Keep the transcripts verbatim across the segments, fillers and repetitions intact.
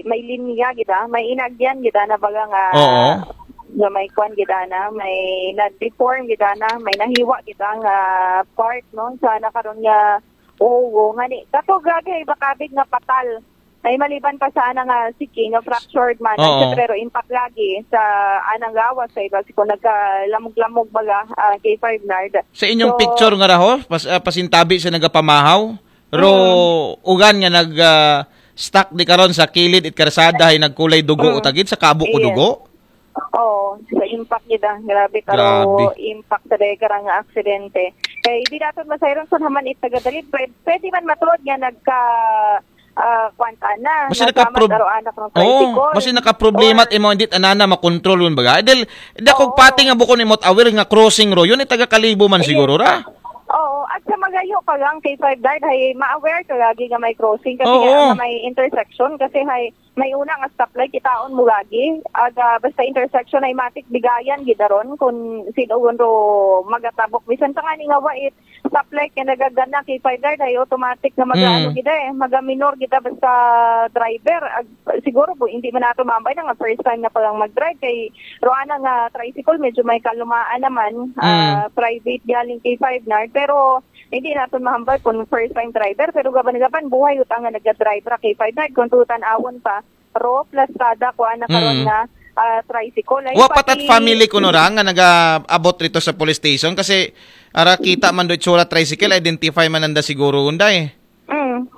may linya gid, ah, may inagyan gid ana baga nga Oo. nga may kwan gid ana, may na-deform gid ana, may nahiwa gid nga part, no, sa nakaron nga ulo nga ni. Kato, grabe, ay bakabig nga patal. Ay maliban pa sa ana nga siki nga fractured man, Oo. Siyempre, pero impact lagi sa anang gawas sa iba si kung nagkalamog-lamog baga, ah, kay Five Nard. Sa inyong So, picture nga raho, pas, ah, pasintabi sa nagapamahaw, ro ugan nga nag ah, stuck di karon sa kilid it karsada ay nagkulay dugo Mm. utagid sa kabo ko Yes. dugo. Oo, sa impact gid, ah. Grabe ka Grabe. impact sa deka nga aksidente. Kay di naton masayron sa naman it taga-dali. Pwede, pwede man matuod nga nagka ah, kwanta na. Basta Nasamat nakaprob- aro anak ng Oo, tricycle. basta nakaproblema Or- at imo hindi anana makontrol yun baga. Dahil, hindi ako Oo. pati nga bukon imot aware nga crossing ro, yun ay taga Kalibo man Yes. siguro ra. Oo, at sa magayo ka lang kay Five Nard, hay ma-aware ka lagi nga may crossing kasi Oo. nga, nga may intersection kasi hay may una nga stoplight kitaon mo lagi. Aga basta intersection ay matik bigayan gidaron kung sino ro magatabok. Bisan pa nga ni nga wait stoplight nga nagagana kay Five Nard ay automatic nga mag-ano Mm. gida eh, magaminor gida basta driver. Ag, siguro po hindi man nato mambay na nga first time na palang mag-drive kay Roana nga tricycle medyo may kalumaan naman, ah, private galing kay Five Nard, pero hindi naton mahambal kung first time driver, pero gaban-gaban buhay utang nga nagdadrive ra kay Five Nard kung tutan-awon pa ro plastada ko ana karon Mm. nga ah, tricycle. Ay, Wa pa tat pati- family kuno ra nga nagaabot rito sa police station kasi ara kita man do itsura tricycle, identify man nanda siguro unday. Mm.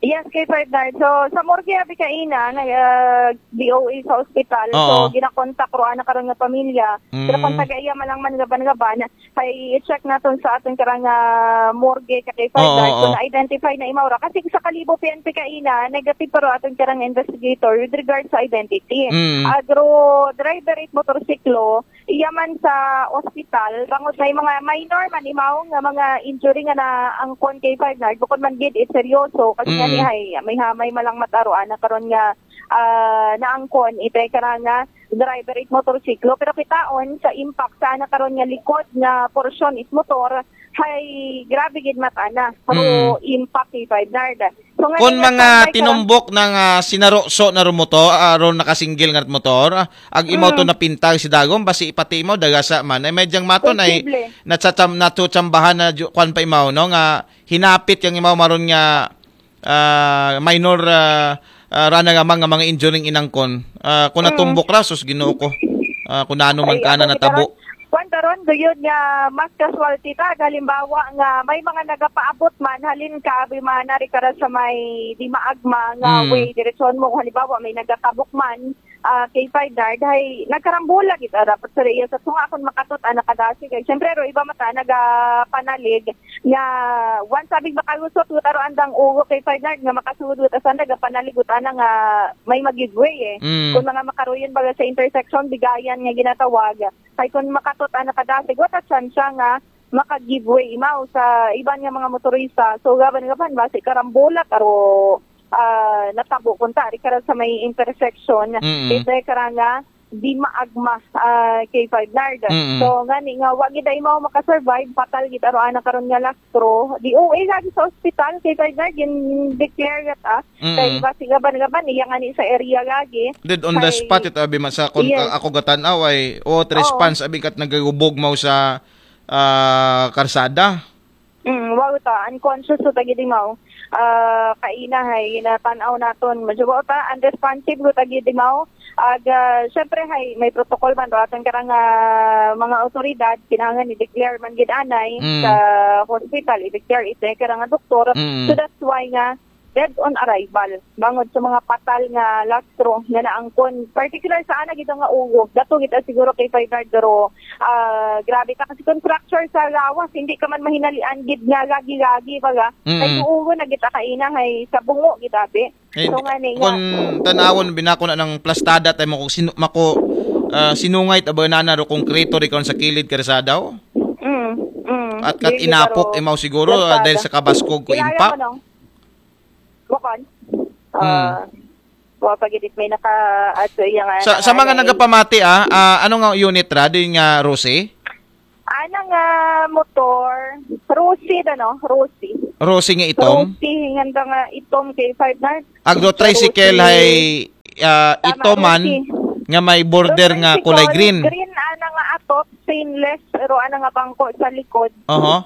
Yes, kay Five Nard. So, sa morgue abi kaina, nag uh, D O A sa ospital. So, Oo. ginakontak ro ana karon nga pamilya. Mm. Pero kung taga iya malang man gaban-gaban, kay i-check naton sa aton karang ah, morgue ka kay Five Oo, Nard oo. kung na-identify na imaw ra. Kasi sa Kalibo P N P kaina, negative pero aton karang investigator with regard sa identity. Mm. Agro driver it motorsiklo, iya man sa ospital, bangod may mga minor man imaw nga mga injury nga naangkon kay Five Nard, bukod man gid it seryoso, kasi nga Mm. ni hay, may hamay malang mataro ana karon nga ah, naangkon itay karang nga driver it motorsiklo, pero kitaon sa impact sa ana karon nga likod nga porsyon it motor, hay grabe gid matana. Pero Mm. impact kay Five Nard. So, nga Kung nga mga standby ka lang. tinumbok ng ah, sinaroso na rumoto, ah, ron nakasinggil nga motor, ah, ag imaw to Mm. napintag si Dagom, basi ipati imaw, dagasa man. Ay, medyang maton ay Posible. natsacham, natutsambahan na ju- kwan pa imaw, no, nga hinapit yang imaw maron nga ah, minor ah, ah, rana nga mga, mga injuring inangkon. Ah, kung Mm. natumbok ra, sus, Ginoo ko. Ah, kung nano man Ay, ka na ako, natabo. Karon, kwan karon, gayud nga mas casualty ta. Halimbawa nga may mga nagapaabot man, halin ka, abi man, nari ka ra sa may di maagma nga Mm. way, diretsyon mo. Halimbawa, may nagatabok man, ah, kay Five Nard, hay nagkarambola gid ah, dapat sa iya sa tunga akong makatot ah, nakadasig. Ay, siyempre, ro, iba mata, nagapanalig nga, once sabing makalusot, gutaro andang ugo kay Five Nard, nga makasudot, asa nagapanalig, gutana nga may mag-give way eh. Mm. Kung mga makaruyon baga sa intersection, bigayan nga ginatawag, kay kung makatot ah, nakadasig, wata tsansya nga maka-give way imaw sa iban nga mga motorista. So, gaban-gaban, basi karambola, taro ah, natabo kunta, di kara sa may intersection, Mm. ito kara nga, di maagma ah, kay Five Nard. Mm. So, ngani nga, wa gid ay mao makasurvive, patal gid aro ana karon nga lastro. D O A lagi sa ospital kay Five Nard, gin-declare yat ah. Mm. Kay basi gaban-gaban, iya ngani sa area lagi. Dead on the Kay- spot ito, abi, man sa kon Yes. a- ako gatanaw ay what Oo. response, abi, kat nagagubog mo sa ah, karsada. Mm, wow ta, unconscious to tagi di mao. Ah, kaina hay, ginatanaw naton. Medyo wow ta, unresponsive ko tagi di mao. Ag, ah, syempre hay, may protocol man ro aton karang ah, mga otoridad, kinahanglan i-declare man gid anay Mm. sa hospital, i-declare it karang doktor. Mm. So that's why nga, dead on arrival. Bangod sa mga patal nga lastro nga naangkon. Particular sa ana gid nga ulo. Dato gid siguro kay Five Nard, pero ah, grabe ta kasi kung fracture sa lawas, hindi ka man mahinalian gid nga lagi-lagi baga. Mm. Ay ulo na gid kaina hay sa bungo gid abi. Eh, So nga ni nga. Kung tanawon binako na ng plastada tayo mo kung sinu, mako ah, sinungay taba na na ro konkreto ri karon sa kilid karsada, oh. Mm, mm. At kat Dili inapok karo imaw siguro ah, plastada. dahil sa kabaskog ko Kilala impact. mo, no? Bukon? Hmm. Ah, wa pa gid may naka-add sa iya nga Sa, sa mga nanganay. Nagapamati ah, ah, ano nga unit ra din nga Rosie? Ana nga motor, Rosie ano, Rosie. Rosie nga itom? Rosie, nga nga itom kay Five Nard. Agro tricycle Rosie. hay ah, ito man nga may border nga kulay green. Green, ana nga atop, stainless, pero ana nga bangko sa likod. Oho.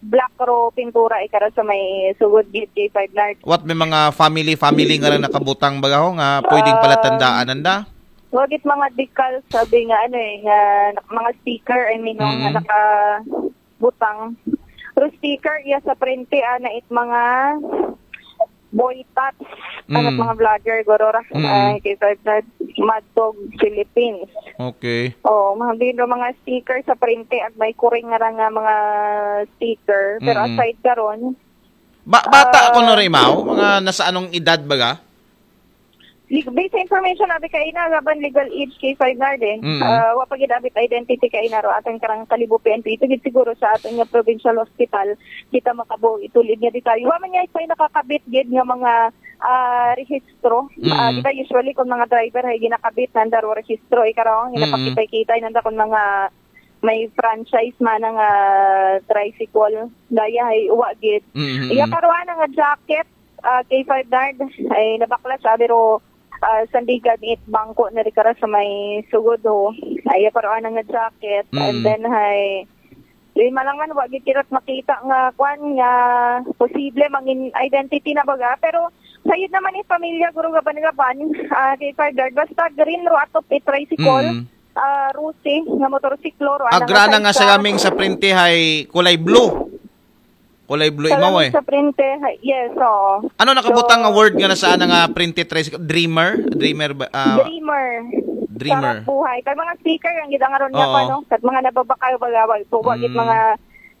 Black ro pintura ikara sa may sugod gid kay five Nard. What, may mga family, family nga lang nakabutang bagaho nga pwedeng palatandaan nanda? Wagit mga decal, sabi nga ano eh, nga mga sticker, I mean, mm-hmm. Nga nakabutang. Pero sticker, iya sa prente, ana it mga boy tots, mm. Mga vlogger, guro ra. Mm. Uh, kay Mad Dog Philippines. Okay. Oh, mga bino, mga sticker sa prente at may kuring nga nga mga sticker. Pero mm. Aside karon, ba bata uh, ako no rimaw, mga nasa anong edad baga? Based sa information abi kaina, laban legal age kay five Nard eh. Mm. Uh, wa pa gid abit identity kaina ro atong karang Kalibo P N P. Ito gid siguro sa atong nga provincial hospital, kita makabo itulid nga detalye. Wa man niya ipay nakakabit gid nga mga uh, rehistro. Mm. Uh, kita usually kung mga driver ay ginakabit nanda ro rehistro, ikaraw ang ginapakitay-kitay nanda kung mga may franchise man nga uh, tricycle. Daya ay uwa gid. Mm-hmm. Iya karuan nga jacket, uh, kay five Nard ay nabaklas abi ro uh, sandigan it bangko na rikara sa may sugod ho. Ay, paruan nga jacket. Mm. And then, hay, lima lang man, wag itirot makita nga, kwan, nga posible mangin identity na baga. Pero, sayod naman it pamilya, guro gaban-gaban, uh, kay five Nard. Basta green ro atop it tricycle, mm. Uh, Rusi, nga motorsiklo, ro. Agrana nga sa laming sa prente hay kulay blue. Kulay blue imaw eh. Sa printe, yes, oo. Ano nakabutang so, nga word nga nasaan nga printe tricycle? Dreamer? Dreamer ba? Uh, dreamer. Dreamer. Sarap buhay. Kag mga sticker ang gidang aron niya pa, no? Kat mga nababakal, wala, wala, mm. Mga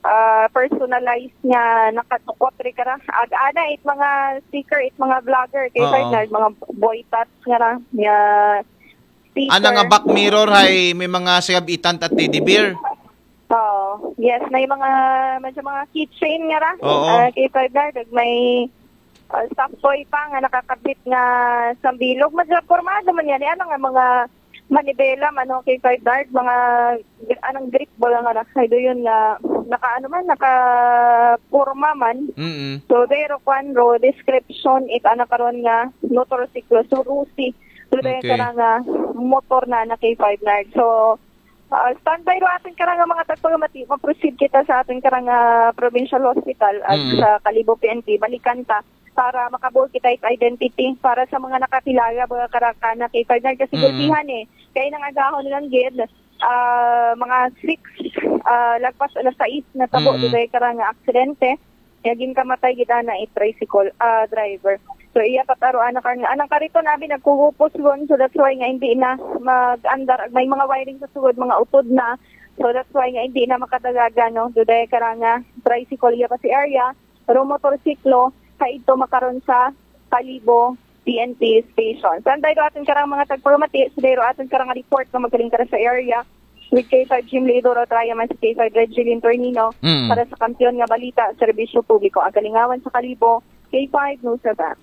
uh, personalized nga nakatukot rin ka na. Ag ana, it mga sticker, it mga vlogger, kay uh, mga boy tots nga na, nga sticker. Ana nga back mirror, hay may mga sigabitan at teddy bear. Oo. Yes, may mga, medyo mga keychain nga ra. Oo. Uh, kay five Nard, may uh, soft toy pa nga nakakabit nga sambilog. Medyo pormado man yan. Eh, ano nga mga manibela, ano, kay five Nard, mga anong grip ba nga na? Ay, do yun nga, naka, ano man, naka porma man. Mm-hmm. So, pero kwan ro, description, it ana karon nga motorsiklo. So, Rusi, so, okay. Nga motor na na kay five Nard. So, Uh, standby ro atin karang mga tagpagamati. Ma-proceed kita sa atin karang uh, provincial hospital at mm. Sa Kalibo P N P. Balikan ta para makabuo kita it identity para sa mga nakakilala mga karakana kay five Nard kasi mm. Gulpihan eh. Kaya nang agahon lang gid uh, mga six uh, lagpas alas sais na tabo mm. Karang aksidente. Nga ginkamatay gid ana it tricycle ah, driver. So iya pataruan na karna anang kariton abi nagkugupos gon, so that's why nga hindi na mag-andar. May mga wiring sa sugod, mga utod na. So that's why nga hindi na makadagagan, no. Duday karanga tricycle iya pa si area, pero motorsiklo kaidto makaron sa Kalibo P N P station. Sanday do aton karang mga tagpamati, sanday do aton karang report nga magaling kara sa area. With K five Jim Lido Rotraya man si K five Regilin Tornino mm. Para sa kampiyon nga balita, serbisyo publiko, ang kalingawan sa Kalibo, K five News F M.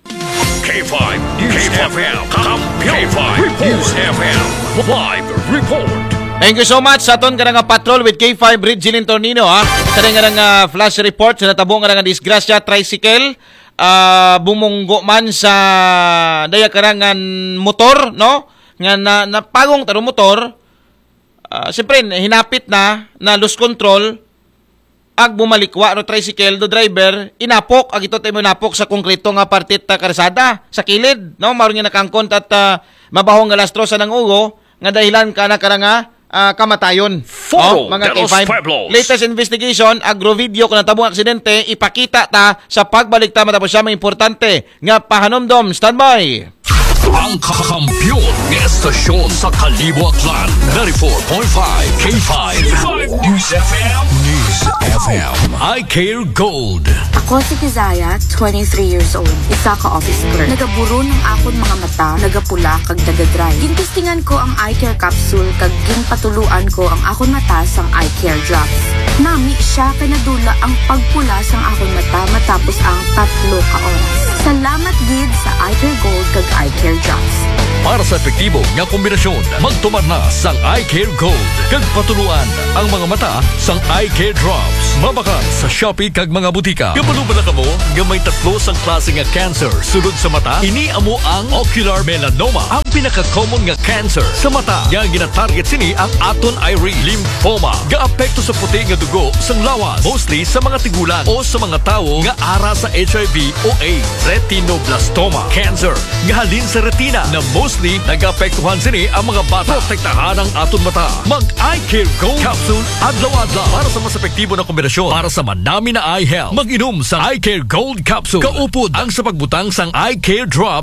K five News F M. Kampiyon. K five News F M. Live report. Thank you so much sa aton karang patrol with K five Regilin Tornino ha. Sa nga nga uh, flash report sa natabo nga nga disgrasya, tricycle uh, bumunggo man sa daya karangan motor, no? Nga na, napagong taro motor, uh, siyempre, hinapit na, na lose control, ag bumalikwa no tricycle do driver, inapok, ag ito tayo inapok sa konkreto nga parte ta karsada, sa kilid, no? Maroon nga nakangkon at uh, mabahong nga lastro sa nang ugo, nga dahilan ka na karanga uh, kamatayon. Foro oh, mga de los Pueblos. Latest investigation, agrovideo kung natabo ang aksidente, ipakita ta sa pagbalik ta matapos siya may importante nga pahanumdom. Standby! Ang kakampiyon ng estasyon sa Kalibo Aklan, ninety-four point five K five. K five News F M. News F M. I Care Gold. Ako si Kizaya, twenty-three years old. Isa ka office clerk. Nagaburo ng akon mga mata, nagapula, kag nagadry. Gintistingan ko ang eye care capsule, kag ginpatuluan ko ang akon mata sang eye care drops. Nami siya kay nadula ang pagpula sang akon mata matapos ang tatlo ka oras. Salamat gid sa Eye Care Gold kag Eye Care Drops. Para sa epektibo nga kombinasyon, magtumar na sang Eye Care Gold kag patuluan ang mga mata sang Eye Care Drops. Mabakal sa Shopee kag mga butika. Kabalo ba na kamo nga may tatlo sang klase nga cancer sulod sa mata? Ini amo ang ocular melanoma. Ang Pinaka-common nga cancer sa mata nga gina-target sini ang aton iris, lymphoma. Gaapekto sa puti nga dugo sang lawas, mostly sa mga tigulang o sa mga tawo nga ara sa H I V o AIDS. Retinoblastoma cancer nga halin sa retina, na mostly nagaapektuhan sini ang mga bata. Protektahan ang aton mata. Mag-Eye Care Gold Capsule adlaw-adlaw para sa mas epektibo na kombinasyon para sa manami na eye health. Mag-inom sa Eye Care Gold Capsule kaupod ang sa pagbutang sang Eye Care Drop